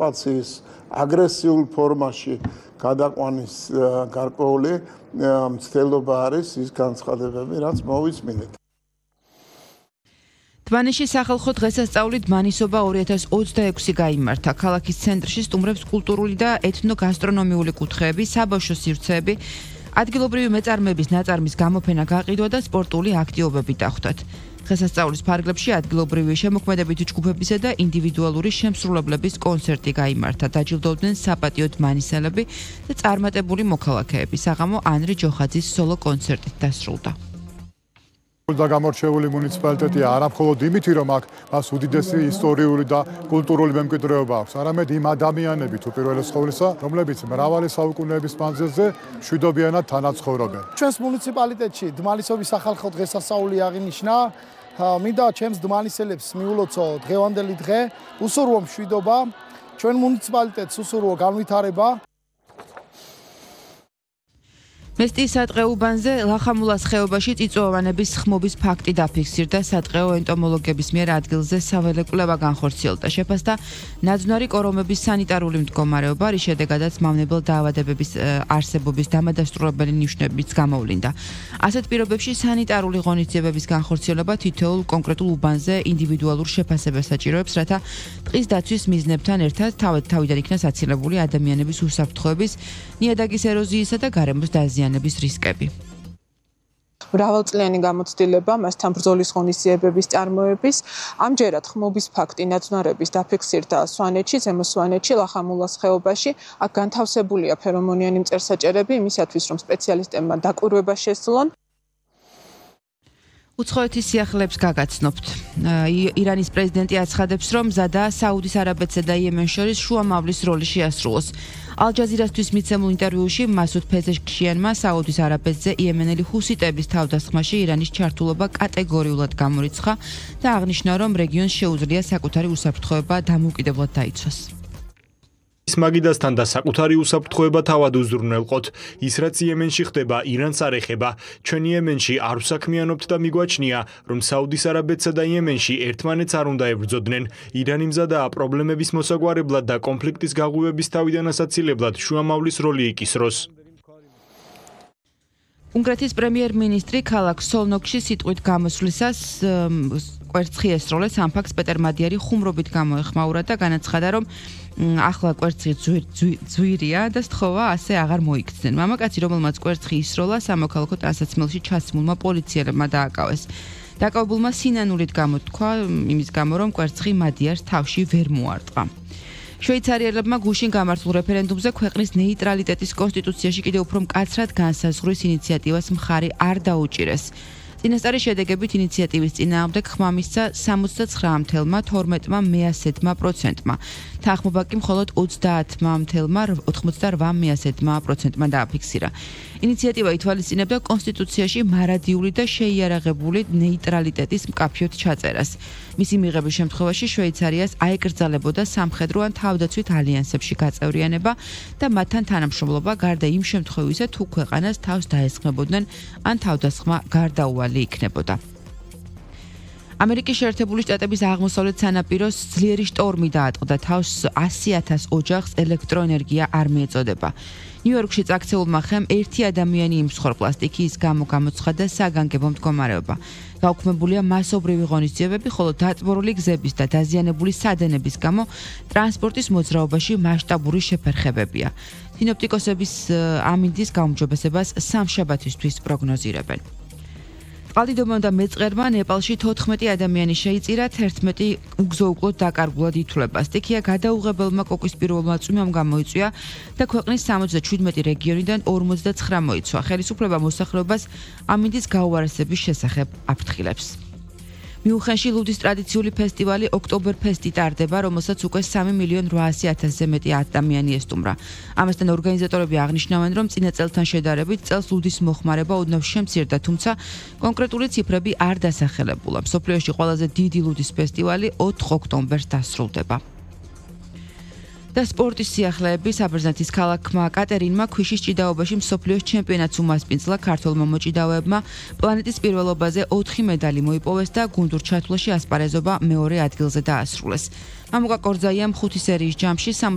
ოკუპაციის აგრესიულ ფორმაში გადაყვანის გარკვეული მცდელობა არის ის განცხადებები, რაც მოვისმინეთ. დმანისში სახალხო დღესასწაული დმანისობა 2026 გაიმართა. ქალაქის ცენტრში სტუმრებს კულტურული და ეთნოგასტრონომიული კუთხეები, საბავშვო სივრცეები, ადგილობრივი მეწარმეების ნაწარმის გამოფენა გაყიდვა და სპორტული აქტივობები დახვდათ. დღესასწაულის ფარგლებში ადგილობრივი შემოქმედებითი ჯგუფებისა და ინდივიდუალური შემსრულებლების კონცერტი გაიმართა. დაჯილდოვდნენ საპატიო დმანისელები და წარმატებული მოქალაქეები. საღამო ანრი ჯოხაძის სოლო კონცერტით დასრულდა. და გამორჩეული მუნიციპალიტეტია არა მხოლოდ იმითი, რომ აქ მას უდიდესი ისტორიული და კულტურული მემკვიდრეობა აქვს, არამედ იმ ადამიანებით უპირველეს ყოვლისა, რომლებიც მრავალი საუკუნეების მანძილზე მშვიდობიანად თანაცხოვრობენ. ჩვენს მუნიციპალიტეტში დმანისობის სახალხო დღესასწაული აღინიშნა. მინდა ჩემს დმანისელებს მიულოცო დღევანდელი დღე, უსურვო მშვიდობა, ჩვენ მუნიციპალიტეტს უსურვო განვითარება. მესტიის სატყეო უბანზე ლახამულას ხეობაში წიწვოვანების ხმობის ფაქტი დაფიქსირდა. სატყეო ენტომოლოგების მიერ ადგილზე საველე კვლევა განხორციელდა. შეფასდა ნაძვნარი კორომების სანიტარული მდგომარეობა, რის შედეგადაც მავნებელ დაავადებების არსებობის დამადასტურებელი ნიშნებიც გამოვლინდა. ასეთ პირობებში სანიტარული ღონისძიებების განხორციელება თითოეულ კონკრეტულ უბანზე ინდივიდუალურ შეფასებას საჭიროებს, რათა ტყის დაცვის მიზნებთან ერთად თავიდან იქნა საცილებული ადამიანების უსაფრთხოების, ნიადაგის ეროზიისა და გარემოს დაზიანების რისკები. მრავალწლიანი გამოცდილება მასთან ბრძოლის ღონისძიებების წარმოების, ამჯერად ხმობის ფაქტი ნაძვნარების დაფიქსირდა სვანეთში, ზემო სვანეთში, ლახამულას ხეობაში. აქ განთავსებულია ფერომონიანი მწერსაჭერები იმისათვის, რომ სპეციალისტებმა დაკვირვება შესძლონ. უცხოეთის სიახლეებს გაგაცნობთ. ირანის პრეზიდენტი აცხადებს, რომ მზადაა საუდის არაბეთსა და იემენს შორის შუამავლის როლი შეასრულოს. ალ-ჯაზირასთვის მიცემულ ინტერვიუში მასუდ ფეზეშქიანმა საუდის არაბეთზე იემენელი ჰუსიტების თავდასხმაში ირანის ჩართულობა კატეგორიულად გამორიცხა და აღნიშნა, რომ რეგიონს შეუძლია საკუთარი უსაფრთხოება დამოუკიდებლად დაიცვას. მაგიდასთან და საკუთარი უსაფრთხოება თავად უზრუნველყოთ. ის რაც იემენში ხდება, ირანს არ ეხება. ჩვენ იემენში არ ვსაქმიანობთ და მიგვაჩნია, რომ საუდის არაბეთსა და იემენში ერთმანეთს არ უნდა ებრძოდნენ. ირანი მზადაა პრობლემების მოსაგვარებლად და კონფლიქტის გაღვივების თავიდან ასაცილებლად შუამავლის როლი იკისროს. უნგრეთის პრემიერ-მინისტრი ქალაქ სოლნოკში სიტყვით გამოსვლისას კვერცხი ესროლეს. ამ ფაქტს პეტერ მადიარი ხუმრობით გამოეხმაურა და განაცხადა, რომ ახლა კვერცხი ძვირია და სთხოვა ასე აღარ მოიქცნენ. მამაკაცი, რომელმაც კვერცხი ისროლა, სამოქალაქო ტანსაცმელში ჩასმულმა პოლიციელებმა დააკავეს. დაკავებულმა სინანულით გამოთქვა იმის გამო, რომ კვერცხი მადიარს თავში ვერ მოარტყა. შვეიცარიელებმა გუშინ გამართულ რეფერენდუმზე ქვეყნის ნეიტრალიტეტის კონსტიტუციაში კიდევ უფრო მკაცრად განსაზღვრის ინიციატივას მხარი არ დაუჭირეს. წინასწარი შედეგებით ინიციატივის წინააღმდეგ ხმა მისცა 69,12%-მა, თანხმობა კი მხოლოდ 30,88%-მა დააფიქსირა. ინიციატივა ითვალისწინებდა კონსტიტუციაში მარადიული და შეიარაღებული ნეიტრალიტეტის მკაფიოდ ჩაწერას. მისი მიღების შემთხვევაში შვეიცარიას აეკრძალებოდა სამხედრო ან თავდაცვით ალიანსებში გაწევრიანება და მათთან თანამშრომლობა გარდა იმ შემთხვევისა, თუ ქვეყანას თავს დაესხმებოდნენ ან თავდასხმა გარდაუვალი იქნებოდა. ამერიკის შეერთებული შტატების აღმოსავლეთ სანაპიროს ძლიერი შტორმი დაატყდა თავს 100,000 ოჯახს ელექტროენერგია არ მიეწოდება. ნიუ-იორკში წაქცეულმა ხემ ერთი ადამიანი იმსხვრ პლასტიკის გამო გამოცხადა საგანგებო მდგომარეობა. გაუქმებულია მასობრივი ღონისძიებები, ხოლო დაწბორული გზების და დაზიანებული სადენების გამო ტრანსპორტის მოძრაობაში მასშტაბური შეფერხებებია. სინოპტიკოსების ამინდის გაუმჯობესებას სამშაბათისთვის პროგნოზირებენ. წყალდიდობამ და მეწყერმა ნეპალში 14 ადამიანი შეიწირა, 11 უგზო-უკლოდ დაკარგულად ითვლება. სტიქია გადაუღებელმა კოკვის პირველმა წვიმამ გამოიწვია და ქვეყნის 77 რეგიონიდან 59 მოიცვა. ხელისუფლება მოსახლეობას ამინდის გაუარესების შესახებ აფრთხილებს. მიუნხენში ლუდის ტრადიციული ფესტივალი ოქტობერფესტი ტარდება, რომელსაც უკვე 3,800,000-ზე მეტი ადამიანი ესტუმრა. ამასთან ორგანიზატორები აღნიშნავენ, რომ წინა წელთან შედარებით წელს ლუდის მოხმარება ოდნავ შემცირდა, თუმცა კონკრეტული ციფრები არ დასახელებულა. მსოფლიოში ყველაზე დიდი ლუდის ფესტივალი 4 ოქტომბერს დასრულდება. და სპორტის სიახლეები საბერძნეთის ქალაქმა კატერინმა ქვიშის ჭიდაობაში მსოფლიოს ჩემპიონატს უმასპინძლა. ქართველმა მოჭიდავეებმა პლანეტის პირველობაზე 4 მედალი მოიპოვეს და გუნდურ ჩათვლაში ასპარეზობა მეორე ადგილზე დაასრულეს. მამუკა კორძაიამ 5 სერიის ჯამში